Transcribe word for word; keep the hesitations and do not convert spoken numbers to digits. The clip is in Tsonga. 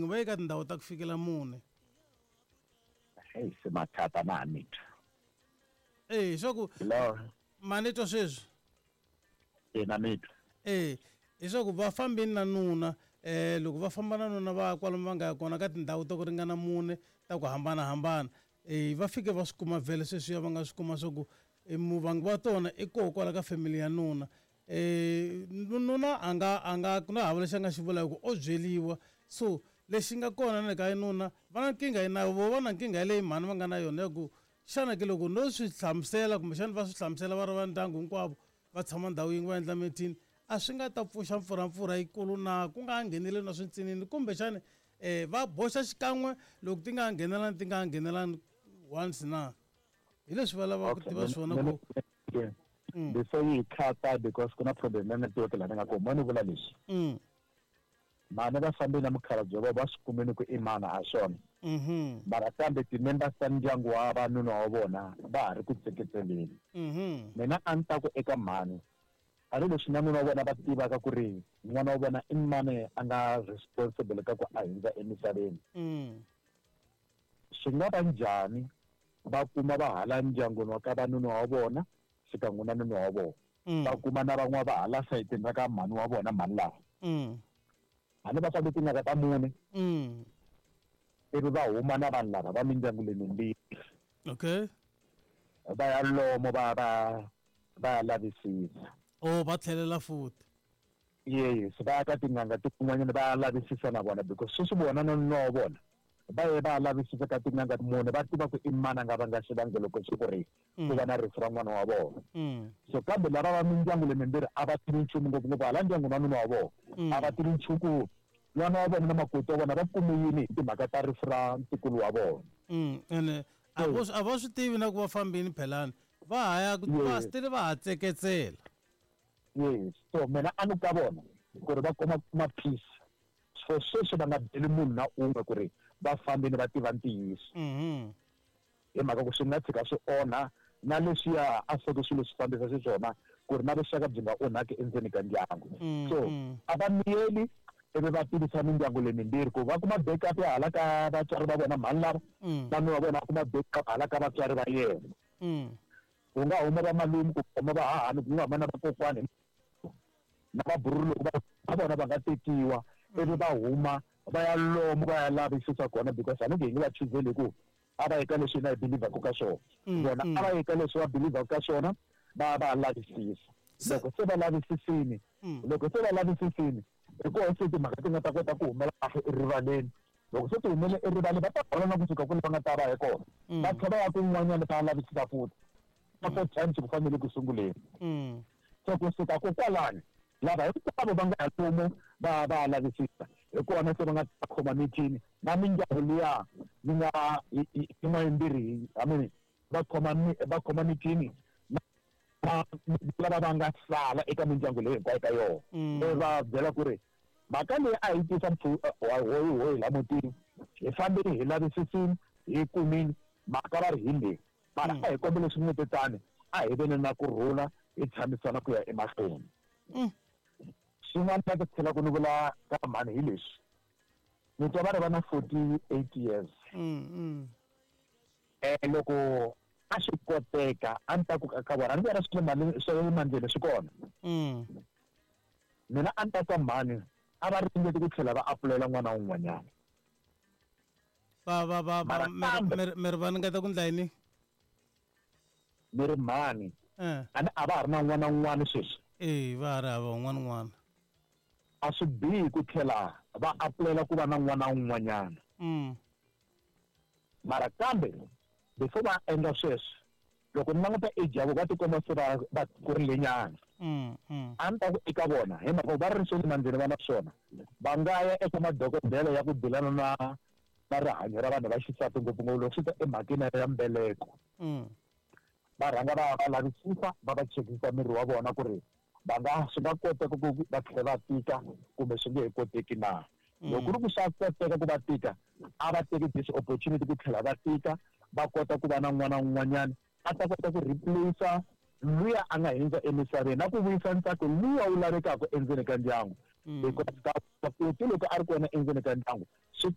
yin'we, va ye ka tindhawu ta ku fikela mune. Hey, se mathata na ha ni twa. Eh, swa ku Hello. Ma ni twa sweswi? E, na mi twa. Eh, leswaku va fambini na nuna, eh loko va famba na nuna va kwalomu va nga ya kona ka tindhawu ta ku ringana mune ta ku hambanahambana. Eh va fike va swi kuma vhele sweswiya va nga swi kuma swa ku muvangi wa tona i koho kwala ka family ya nuna. Eh nuna a nga a nga ku na hava lexi a nga xi vula hi ku o byeliwa. So lexi nga kona na le ka nuna va na nkingha na vo va na nkingha leyi mhani va nga na yona ya ku xana ke loko no swi hlamusela kumbexana va swi hlamusela va ri va ndyangu hinkwavo va tshama ndhawu yin'we va endla meeting, a swi nga ta pfuxa mpfurampfura yikulu na ku nga ngheneleli na swintsinini, kumbexani eh va boxa xikan'we loko ti nga nghenelani ti nga nghenelani once na hi leswi va lavaka ku tiva swona ku before yi khata, because ku na problem ya network laha ni nga kona. Mo ni vula leswi, mm mhani va fambile na mukhalabye va va swi kumile ku i mana a swona, mhm mara kambe ti-members ta ndyangu wa vanuna wa vona va ha ri ku tseketseleni. Mhm mina a ni ta ku eka mhani, a ni leswi na nuna wa vona va tivaka ku ri n'wana wa vona i mani a nga responsible ka ku a hundza emisaveni. Mm swi nga va njhani va kuma va hala ndyangwini wa ka vanuna wa vona xikan'we na nuna wa vona, va kuma na van'wana va hala sayitini ra ka mhani wa vona mhani lava, mm mhani va fambe tin'anga ta mune, mm ivi va huma na vanhu lava va mindyangu leyi mimbirhi. Okay. Va ya lomo va va va ya lavisisa. Oh, va tlhelela futhi. Yes, va ya ka tin'anga tin'wanyana va ya lavisisa na vona, because sweswi vona na nuna wa vona va ye va ya lavisisa ka tin'anga mune, va tiva ku i mani a nga vanga xivangelo xo ku ri ku va na rifu ra n'wana wa vona. So kambe lava va mindyangu leyi mimbirhi a va tivi nchumu, ngopfungopfu hala ndyangu wa nuna wa vona a va tivi nchumu ku n'wana wa vona na makoti wa vona va kume yini hi timhaka ta rifu ra ntukulu wa vona. Ene a vo a va swi tivi na ku va fambini phelani, va ha ya ku va still va ha tseketsela. Yes, so mina a ni ka vona ku ri va kuma kuma peace. So sweswi va nga byeli munhu na un'we ku ri va fambini va tiva ntiyiso. Mhm. Hi mhaka ku swi nga tshika swi onha na leswiya a swi swilo swi fambisa xiswona ku ri na vuxaka byi nga onhaki endzeni ka ndyangu. So a va miyeli ivi va tivisa mindyangu leyi mimbirhi ku va kuma backup ya hala ka vatswari va vona mhani lava, na nuna wa vona va kuma backup hala ka vatswari va yena. Ku nga huma va malume, ku huma va hahani, ku nga huma na vakokwani na vabururu loko va vona va nga tekiwa, ivi va huma va ya lomu va ya lavisisa kona, because a ni nge hi nge va chuzeli ku a va eka leswi hina hi believaka ka swona. Vona a va eka leswi va believaka ka swona, va va lavisisa. Loko se va lavisisini, loko se va lavisisini hi kona se timhaka ti nga ta kota ku humela kahle erivaleni. Loko se ti humele erivaleni va ta hola na kusuka kule va nga ta va hi kona, va tlhela va ya kun'wanyana va lavisisa futhi ka four times ku fanele ku sunguleni. So kusuka kokwalani lava hinkwavo va nga ya lomu va va lavisisa hi kona se va nga ta khoma meeting na mindyangu liya yi nga yin'wana yimbirhi, I mean va khoma va khoma meeting na lava va nga sala eka mindyangu leyi hinkwayo ka yona, ivi va byela ku ri mhaka leyi a hi tisa hoyi hoyi la mutini, hi fambile hi lavisisini hi kumini mhaka va ri hi leyi, mara a hi kombela swi a hi veni na kurhula hi tshamisana ku ya emahlweni. Swin'wana na ku tlhela ku ni vula ka mhani hi leswi, ni twa va ri va na forty-eight years. Eh loko a swi koteka a ni ta ku ka vona, a ni vona swi le swa le mandleni swi kona. Mina a ni ta ka mhani a va ringeti ku tlhela va apulela n'wana wun'wanyana. Va va va va mi ri va ringeta ku ndla yini? Ni ri mhani a ni a va ha ri na n'wana wun'wana sweswi. Eh va ha ri hava un'wana n'wana. A swi bihi ku tlhela va apulela ku va na n'wana wun'wanyana. Mara kambe before va endla sweswo, loko ni languta age ya vona va tikomba se va va kurile nyana. A ni ta ku eka vona hi mhaka va ri swa le mandleni va na swona, va nga ya eka madokodela ya ku dilana na na rihanyo ra vanhu va xisati ngopfungopfu loko swi ta emhakeni ya mbeleko. Va rhanga va va lavisisa va va chekisa miri wa vona ku ri va nga swi nga koteka ku va tlhela va tika kumbe swi nge he koteki na. Loko ku ri ku swa koteka ku va tika, a va teki this opportunity ku tlhela va tika, va kota ku va na n'wana wun'wanyana a ta kota ku replace luya a nga hundza emisaveni na ku vuyisa ntsako luya wu lavekaka endzeni ka ndyangu. Because makoti loko a ri kona endzeni ka ndyangu swi